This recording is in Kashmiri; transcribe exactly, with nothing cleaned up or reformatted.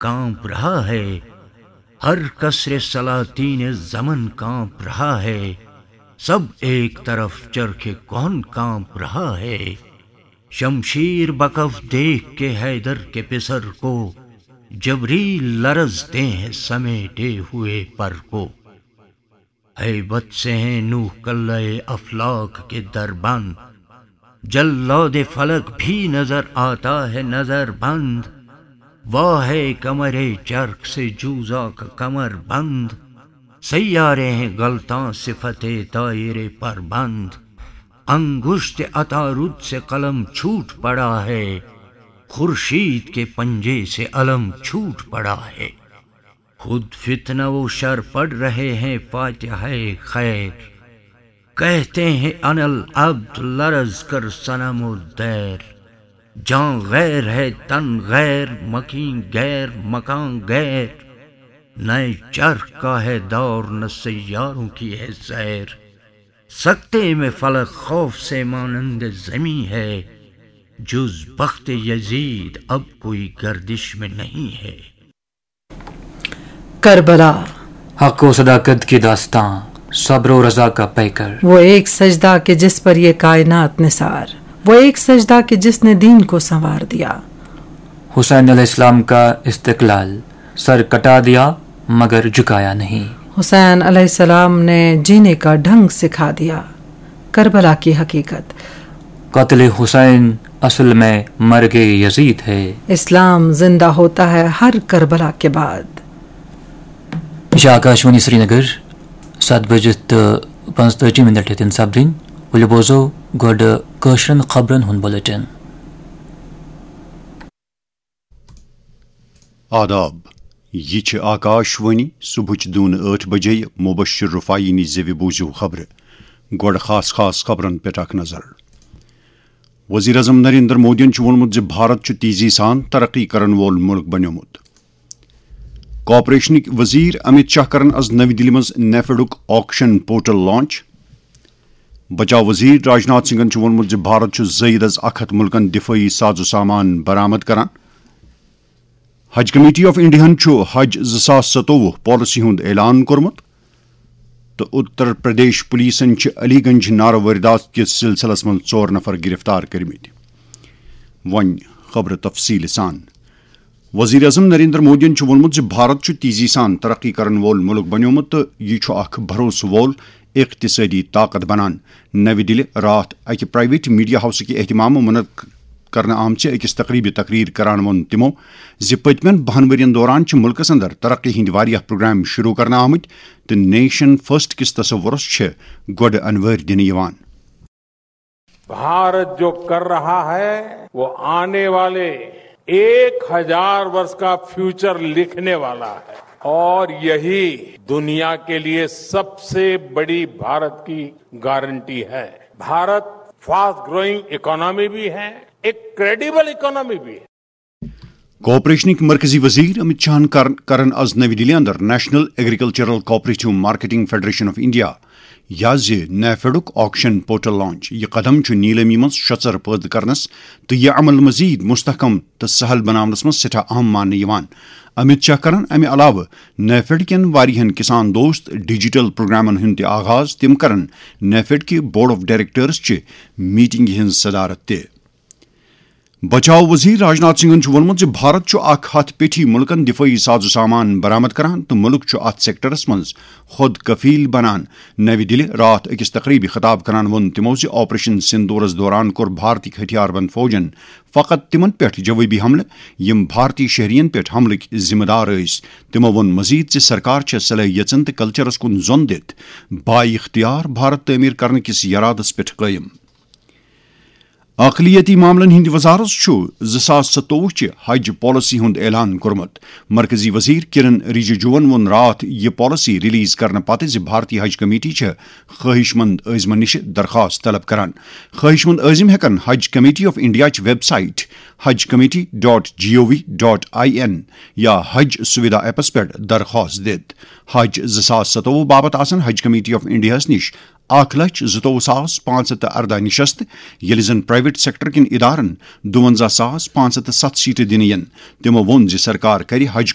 کانپ رہا ہے۔ ہر قصر سلاطین زمن کانپ رہا ہے۔ سب ایک طرف چرخ کہن کانپ رہا ہے۔ شمشیر بکف دیکھ کے حیدر کے پسر کو جبریل لرزتے ہیں سمیٹے ہوئے پر کو۔ ہیبت سے ہیں نوح کلہ افلاک کے دربند۔ جلاد فلک بھی نظر آتا ہے نظر بند۔ واہ ہے کمر چرخ سے جوزا کا کمر بند۔ سیارے ہیں غلطاں صفت طائر پر بند۔ انگشت عطارد سے قلم چھوٹ پڑا ہے۔ خورشید کے پنجے سے علم چھوٹ پڑا ہے۔ خود فتنہ و شر پڑھ رہے ہیں فاتحہ خیر۔ کہتے ہیں انل عبد لرز کر صنم و دیر۔ جان غیر ہے تن غیر مکین غیر مکان غیر۔ نئے چرخ کا ہے دور نہ سیاروں کی ہے سیر۔ سکتے میں فلک خوف سے مانند زمین ہے۔ جز بخت یزید اب کوئی گردش میں نہیں ہے۔ کربلا۔ حق و صداقت کی داستان، صبر و رضا کا پیکر۔ وہ ایک سجدہ کہ جس پر یہ کائنات نثار، وہ ایک سجدہ کہ جس نے دین کو سنوار دیا۔ حسین علیہ السلام کا استقلال، سر کٹا دیا مگر جھکایا نہیں۔ حسین علیہ السلام نے جینے کا ڈھنگ سکھا دیا۔ کربلا کی حقیقت۔ قتل حسین اصل میں مرگ یزید ہے۔ اسلام زندہ ہوتا ہے ہر کربلا کے بعد۔ یہِ چھِ آکاشوانی سرینگر، ستھ بجِتھ تہٕ پانٛژتٲجی مِنٹ ہیٚتن سپدٕنۍ۔ ؤلِو بوزو گۄڈٕ کٲشرٮ۪ن خبرن ہُنٛد بُلٹن۔ آداب، یہِ چھِ آکاشوانی صبحٕچ دُن ٲٹھ بجے۔ مبشر رفاعی نِش زیوِ بوٗزِو خبرٕ۔ گۄڈٕ خاص خاص خبرن پٮ۪ٹھ اکھ نظر۔ وزیر اعظم نریندر مودیَن چھُ ووٚنمُت زِ بھارت چھُ تیزی سان ترقی کرن وول مُلک بنیومُت۔ کارپوریشنٕکۍ وزیر امت شاہ کرن از نوی دِلہِ منٛز نیفڈُک آکشن پورٹل لانچ۔ بچاو وزیر راجناتھ سنگھن چھُ ووٚنمُت زِ بھارت چھُ زٲیِد از اکھ ہتھ مُلکن دِفٲعی ساز و سامان برآمد کران۔ حج کمیٹی آف انڈیاہن چھُ حج زٕ ساس ستووُہ پالیسی ہُنٛد اعلان کوٚرمُت تہٕ اتر پردیش پولیسن چھِ علی گنج نارٕ وٲردات کِس سلسلس منٛز ژور نفر گرفتار کٔرمٕتۍ۔ وۄنۍ خبرٕ تفصیٖل سان۔ وزیر اعظم نریندر مودیَن چھُ ووٚنمُت زِ بھارت چھُ تیزی سان ترقی کرن وول مُلک بنیومُت تہٕ یہِ چھُ اکھ بھروسہٕ وول اقتصٲدی طاقت بنان۔ نَوِ دِلہِ راتھ اَکہِ پرائیویٹ میڈیا ہاؤسٕکہِ اہتمام منعقد کرنہٕ آمژِ أکِس تقریبہِ تقریر کران ووٚن تِمَو زِ پٔتمٮ۪ن بَہَن ؤرۍ یَن دوران چھِ مُلکَس اندر ترقی ہٕنٛدۍ واریاہ پروگرام شروع کرنہٕ آمٕتۍ تہٕ نیشن فرسٹ کِس تصورَس چھِ گۄڈٕ انوٲرۍ دِنہٕ یِوان۔ भारत जो कर रहा है, वो आने वाले एक हजार वर्ष का फ्यूचर लिखने वाला है और यही दुनिया के लिए सबसे बड़ी भारत की गारंटी है। भारत फास्ट ग्रोइंग इकोनॉमी भी है, एक क्रेडिबल इकोनॉमी भी है। کارپوریشنٕکۍ مرکزی وزیر امت شاہن کر-، کرن از نوی دِلہِ اندر national agricultural cooperative marketing federation of India یا زِ نیفیڈُک آکشن پورٹل لانچ۔ یہِ قدم چھُ نیلٲمی منٛز شۄژر پٲدٕ کرنس تہٕ یہِ عمل مزید مستحکم تہٕ سہل بناونس منٛز سٮ۪ٹھاہ اہم ماننہٕ یِوان۔ امت شاہ کرن امہِ علاوٕ نیفیڈ کٮ۪ن واریاہن کسان دوست ڈیجیٹل پروگرامن ہُنٛد تہِ آغاز۔ تِم کرن نیفیڈ کہِ بورڈ آف ڈائریکٹرز چہِ میٹنگہِ ہٕنٛز صدارت تہِ۔ بچاو وزیر راجناتھ سنگھن چھُ ووٚنمُت زِ بھارت چھُ اکھ ہتھ پیٹھی مُلکن دِفٲعی ساز و سامان برآمد کران تہٕ مُلک چھُ اتھ سیکٹرس منٛز خود کفیل بنان۔ نوِ دِلہِ راتھ أکِس تقریبہِ خطاب کران ووٚن تِمو زِ آپریشن سندورس دوران کوٚر بھارتی ہتھیار بند فوجن فقط تِمن پٮ۪ٹھ جوٲبی حملہٕ، یِم بھارتی شہرین پٮ۪ٹھ حملٕکۍ ذمہٕ دار ٲسۍ۔ تِمو ووٚن مزید زِ سرکار چھےٚ صلٲحیژن تہٕ کلچرس کُن زۄن دِتھ با اختیار بھارت تعمیر کرنہٕ کِس یرادس پٮ۪ٹھ قٲیِم۔ اقلیتی معاملن ہٕنٛدِ وزارت چھُ زٕ ساس ستووُہ چہِ حج پالیسی ہُنٛد اعلان کوٚرمُت۔ مرکزی وزیر کرن رجیجوَن ووٚن راتھ یہِ پالیسی ریلیز کرنہٕ پتہٕ زِ بھارتی حج کمیٹی چھےٚ خواہش مند عٲزمن نِش درخواست طلب کران۔ خواہش مند عٲزم ہٮ۪کن حج کمیٹی آف انڈیا چہِ ویب سائٹ حج committee dot G O V dot I N یا حج سویدھا ایپس پٮ۪ٹھ درخواست دِتھ۔ حج زٕ ساس ستووُہ باپتھ آسن حج کمیٹی آف انڈیاہس نِش اکھ لچھ زٕتووُہ ساس پانٛژھ ہتھ تہٕ ارداہ نِشست، ییٚلہِ زن پرائیویٹ سیکٹر کٮ۪ن ادارن دُونزہ ساس پانٛژھ ہتھ تہٕ ستھ سیٹہٕ دِنہٕ یِن۔ تِمو ووٚن زِ سرکار کرِ حج